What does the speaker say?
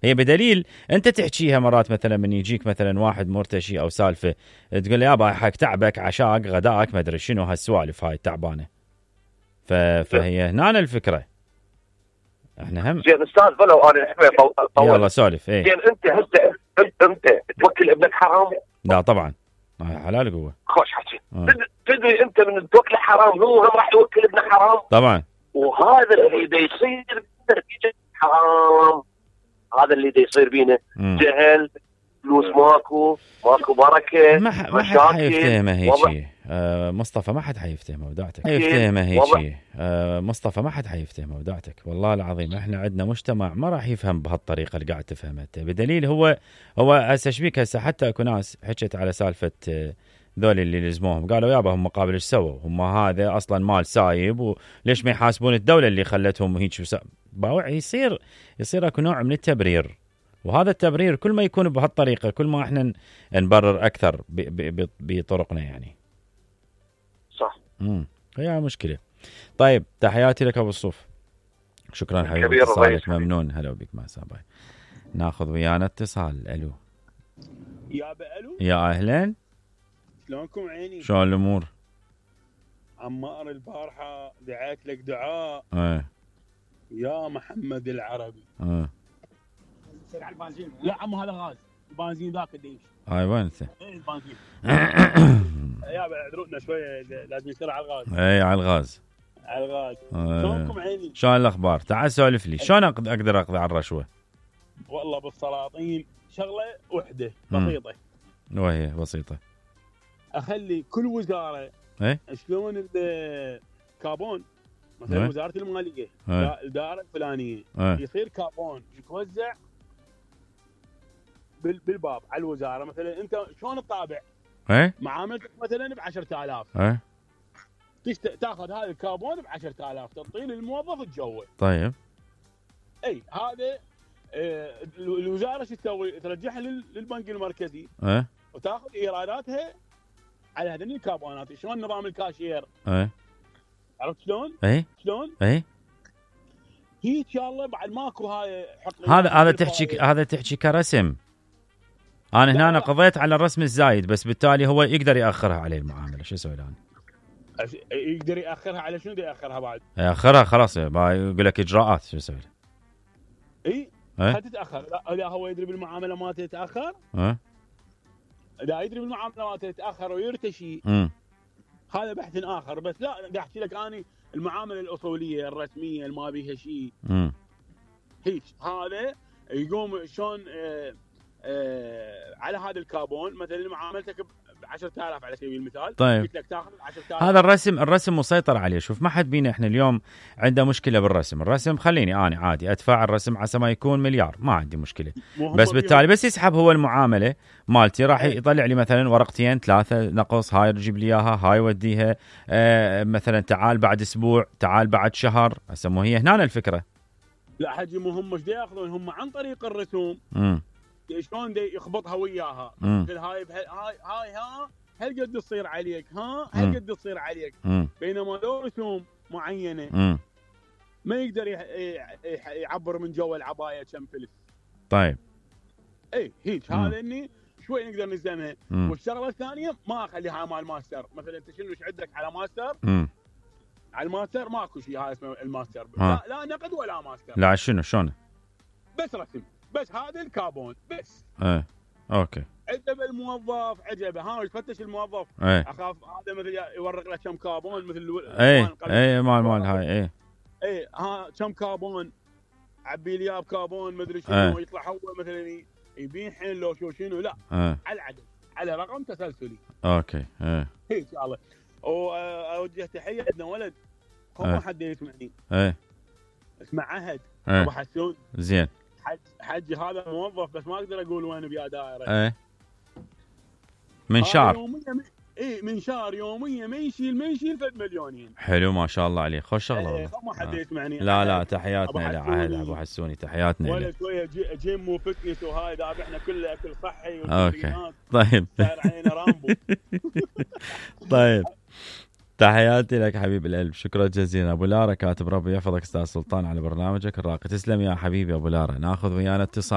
هي بدليل انت تحكيها مرات مثلا من يجيك مثلا واحد مرتشي او سالفه تقول له يابا حق تعبك عشاك غداك ما ادري شنو هالسوالف هاي تعبانه. فهي هنا الفكره. احنا هم زين استاذ ولو انا يلا سولف. ايه زين انت هسه انت توكل ابنك حرام؟ لا طبعا حلال قوه. خوش حكي. تدري انت من توكل حرام هو هم راح يوكل ابنه حرام طبعا. وهذا اللي دا يصير نتيجه حرام، هذا اللي دا يصير بينا جهل، فلوس ماكو بركه، ما حد حيفتهمه هيك شيء. مصطفى ما حد حيفتهمه وداعتك. حيفتهمه هيك شيء. مصطفى ما حد حيفتهمه وداعتك. والله العظيم احنا عندنا مجتمع ما راح يفهم بهالطريقه اللي قاعد تفهمها انت. بدليل هو هسه شبيك هسه حتى اكو ناس حكت على سالفه ذول اللي لزموهم قالوا يابا هم قابل ايش سووا؟ هم هذا اصلا مال سايب وليش ما يحاسبون الدوله اللي خلتهم هيك باوع. يصير اكو نوع من التبرير، وهذا التبرير كل ما يكون بهالطريقه كل ما احنا نبرر اكثر بطرقنا يعني. صح. هي مشكله. طيب تحياتي لك ابو الصوف. شكرا حبيبي اتصالك ممنون. هلا بك مع ساباي. ناخذ ويانا اتصال. الو الو يا اهلا. شلونكم عيني؟ شلون الامور؟ عمار البارحه دعيت لك دعاء يا محمد العربي. على البنزين. لا عمو هذا غاز البنزين ذاك اللي هاي وين انت؟ البنزين. يا اعذرونا شويه لازم يصير على الغاز. على الغاز. شلونكم عيني؟ شلون الاخبار؟ تعال سولف لي شلون اقدر اقضي على الرشوه؟ والله بالسلاطين شغله وحده بسيطه. وهي بسيطه. اخلي كل وزاره شلون الكابون مثلا وزاره الماليه الاداره الفلانيه يصير كابون يتوزع بالباب على الوزاره. مثلا انت شلون تطابع معاملتك مثلا ب 10000 تاخذ هذا الكابون ب 10000 تعطيه للموظف تجوه. طيب اي هذا الوزاره شو تسوي؟ ترجعها للبنك المركزي وتاخذ ايراداتها على هذين الكابونات. شلون نظام الكاشير؟ عرفت شلون؟ شلون؟ هي ان شاء الله بعد ماكو هاي هذا تحكي كرسم. انا هنا قضيت على الرسم الزايد بس بالتالي هو يقدر ياخرها عليه المعامله. شو اسوي الان؟ يقدر ياخرها على شنو؟ ياخرها بعد ياخرها خلاص يقول لك اجراءات. شو اسوي؟ حتتاخر. لا هو يدري بالمعامله ما تتاخر. لا يدري بالمعامله ما تتاخر ويرتشي. هذا بحث اخر. بس لا قاعد احكي لك اني المعامله الاصوليه الرسميه اللي ما بيها شيء هيك. هذا يقوم شلون على هذا الكابون مثلا معاملتك ب 10000 على سبيل المثال. طيب قلت لك تاخذ 10000. هذا الرسم مسيطر عليه. شوف ما حد بينا احنا اليوم عنده مشكله الرسم خليني انا عادي ادفع الرسم عسى ما يكون مليار ما عندي مشكله. بس بالتالي بس يسحب هو المعامله مالتي راح يطلع لي مثلا ورقتين 3 نقص. هاي تجيب لي اياها هاي وديها مثلا تعال بعد اسبوع تعال بعد شهر. هسه مو هي هنا الفكره. لا حجي مو هم ايش ياخذون هم عن طريق الرسوم. شلون يخبطها وياها. هاي ها هل قد تصير عليك هل قد تصير عليك. بينما لو رسوم معينه ما يقدر يعبر من جوا العبايه كم فلس. طيب هيك هذا اني شوي نقدر نزمها. والشغله الثانيه ما اخليها مال ماستر. مثلا انت شنو عندك على ماستر؟ على الماستر ماكو شيء هذا اسمه الماستر. لا نقد ولا ماستر. لا شلون بس رسم بس هذا الكابون بس. اوكي. عجب الموظف عجبه يفتش الموظف. اخاف هذا مثل يورق له كم كابون مثل مال هاي كم كابون عبي لي كابون مدري شنو. يطلع هو مثلا يبين حين لو شنو لا على العدد على رقم تسلسلي. اوكي ان شاء الله. واوجه تحيه عندنا ولد هو حد يسمعني. اسمه عهد ابو حسون. زين حجي هذا موظف بس ما اقدر اقول وين بيا دائره. منشار. منشار يوميا ما يشيل فد مليونين. حلو ما شاء الله عليه. خوش شغله والله. ما حد يسمعني. لا تحياتنا لعهد ابو حسوني. تحياتنا ولا شويه جيم وفتنس وهاي ذابحنا كله اكل صحي. اوكي طيب. رامبو. طيب تحياتي لك حبيب القلب. شكرا جزيلا. ابو لارا كاتب ربي يحفظك استاذ سلطان على برنامجك الراقي. تسلم يا حبيبي ابو لارا. ناخذ ويانا اتصال.